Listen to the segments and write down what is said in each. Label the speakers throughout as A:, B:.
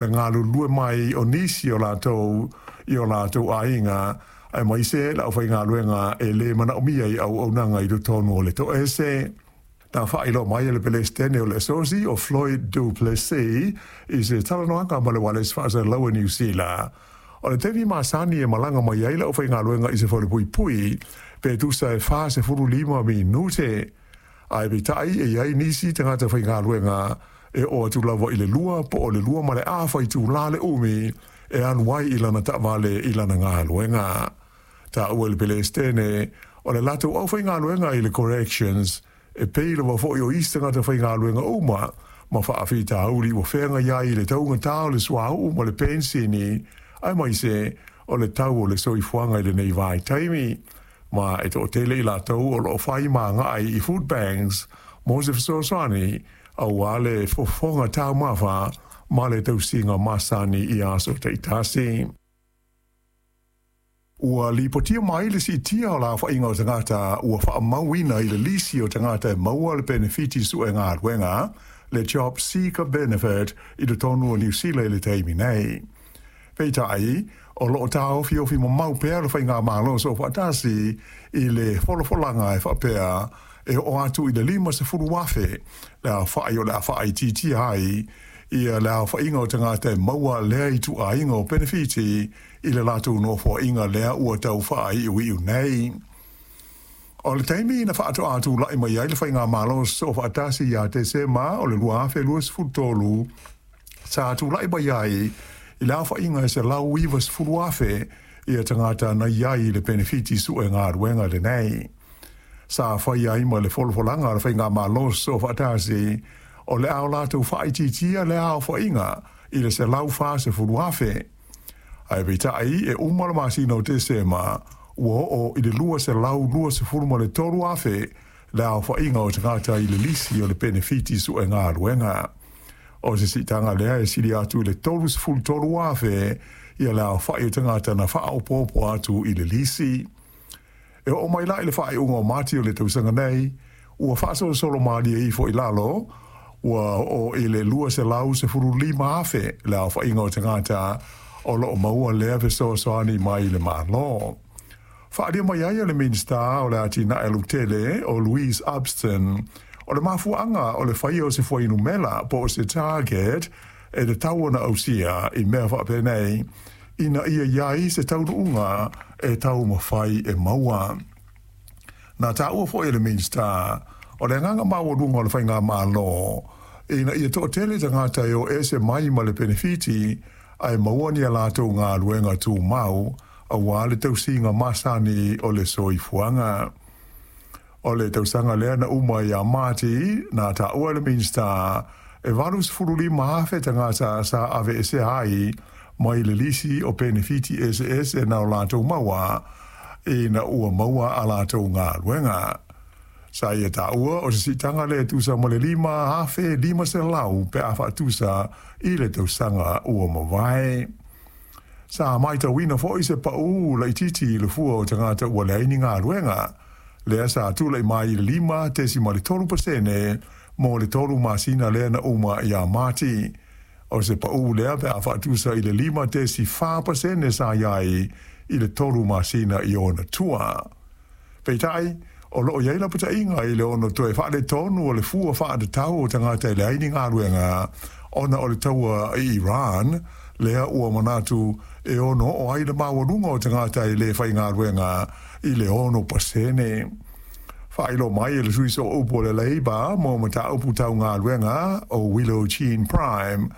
A: Le galulue mai o nisi o latou i o latou aiga, aemaise le aufaigaluega e le manaomia i auaunaga i totonu o le toese. Na faailoa mai e le Peresetene o le Asosi o Floyd Du Plessis i se talanoaga ma le ualesi faasalalau a Niu Sila, o le taimi masani e malaga mai ai le aufaigaluega i se falepuipui pe tusa e 45 minute, ae peitai e i ai nisi tagata faigaluega e oo atu lava i le 2 po o le 2.5 itula le umi e alu ai i lana taavale i lana galuega. Taua e le Peresetene, o le latou aufaigaluega i le Corrections e pei lava foi o isi tagata faigaluega uma ma faafitauli ua feagai ai i le taugata o le suauu ma le penisini, aemaise o le tau o le soifuaga i lenei vaitaimi, ma e toatele i latou o lo o fai ma agai i food banks mo se fesoasoani aua le fofoga taumafa ma le tausiga masani i aso taitasi. Ua lipotia mai le siitia o le aofaiga o tagata ua faamauina i le lisi o tagata e maua le penefiti sue galuega, le Job Seeker Benefit, i totonu o Niu Sila i le taimi nei. Peitai, o lo o taofiofi mamau pea le Faigamalo Soofaatasi i le folafolaga e faapea e oo atu i le 50,000 le aofai o le a faaitiitia ai ia le aofaiga o tagata e maua lea ituaiga o penefiti i le latou nofoaiga lea ua tau faaiuiu nei. O le taimi na faatoa tulai mai ai le Faigamalo Soofaatasi ia Tesema o le 2023, sa tulai mai ai i le aofaiga e 190,000 ia tagata na i ai i le penefiti sue galuega lenei. Sa fai ai ma le folafolaga a le Faigamalo Soofaatasi o le a o latou faaitiitia lea aofaiga i le 140,000. Ae peitai e uma le masina o Tesema ua oo i le 223,000 le aofaiga o tagata i le lisi o le penefiti sue galuega. O se siitaga lea e sili atu i le 33,000 ia le aofai o tagata na faaopoopo atu i le lisi. E oo mai la i le faaiuga o Mati o le tausaga nei, ua faasolosolo malie ifo i lalo, ua oo i le 215,000 le aofaiga o tagata o lo o maua lea fesoasoani mai le Malo. Faaalia mai ai e le Minisita o le Atinae Lautele o Louise Upston, o le mafuaaga o le faia o se fuainumera po o se target e tatau ona ausia i mea faapenei, ina ia i ai se taunuuga e taumafai e maua. Na taua foi e le Minisita, o le agaga maualuga o le Faigamalo, ina ia toatele tagata e o ese mai ma le penefiti ae maua ni a latou galuega tumau aua le tausiga masani o le soifuaga. O le tausaga lea na uma ia Mati, na taua e le Minisita, e 85,000 tagata sa aveesea ai mai le lisi o penefiti eseese na o latou maua ina ua maua a latou galuega. Sa ia taua o se siitaga lea e tusa ma le 5,500 pe a faatusa i le tausaga ua mavae. Sa matauina foi se pau laitiiti i le fua o tagata ua leai ni galuega, lea sa tulai mai i le 5.3% mo le 3 masina lea na uma ia Mati. O se pau lea pe a faatusa i le 5.4% sa i ai i le 3 masina i ona tua. Peitai, o lo o i ai lapataiga i le ono toe faaletonu o le fua faatatau o tagata e leai ni galuega ona o le taua i Iran, lea ua manatu e ono oo ai le maualuga o tagata e le faigaluega i le 6%. Faailoa mai e le sui sooupu o le Labour mo mataupu tau galuega o Willow Jean Prime,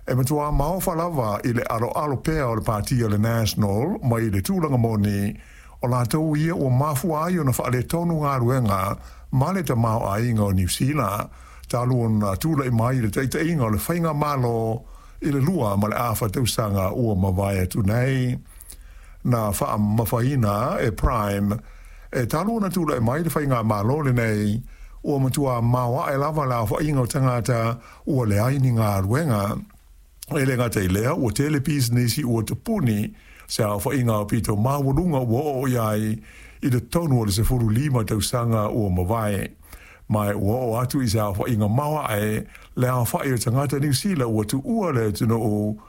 A: e matua maofa lava i le aloalo pea o le pati o le National mai le tulaga moni o latou ia ua mafua ai ona faaletonu galuega ma le tamaoaiga o Niu Sila talu ona tulai mai i le taitaiga o le Faigamalo i le 2.5 tausaga ua mavae atu nei. Na faamamafaina e Prime, e talu ona tulai mai le Faigamalo lenei, ua matua maoae lava le aofaiga o tagata ua leai ni galuega. E le gata i lea, ua tele pisinisi ua tapuni, se aofaiga aupito maualuga ua oo i ai i totonu o le 15 tausaga ua mavae. Ma ua oo atu i se aofaiga maoae le aofai o tagata Niu Sila ua tuua le atunuu.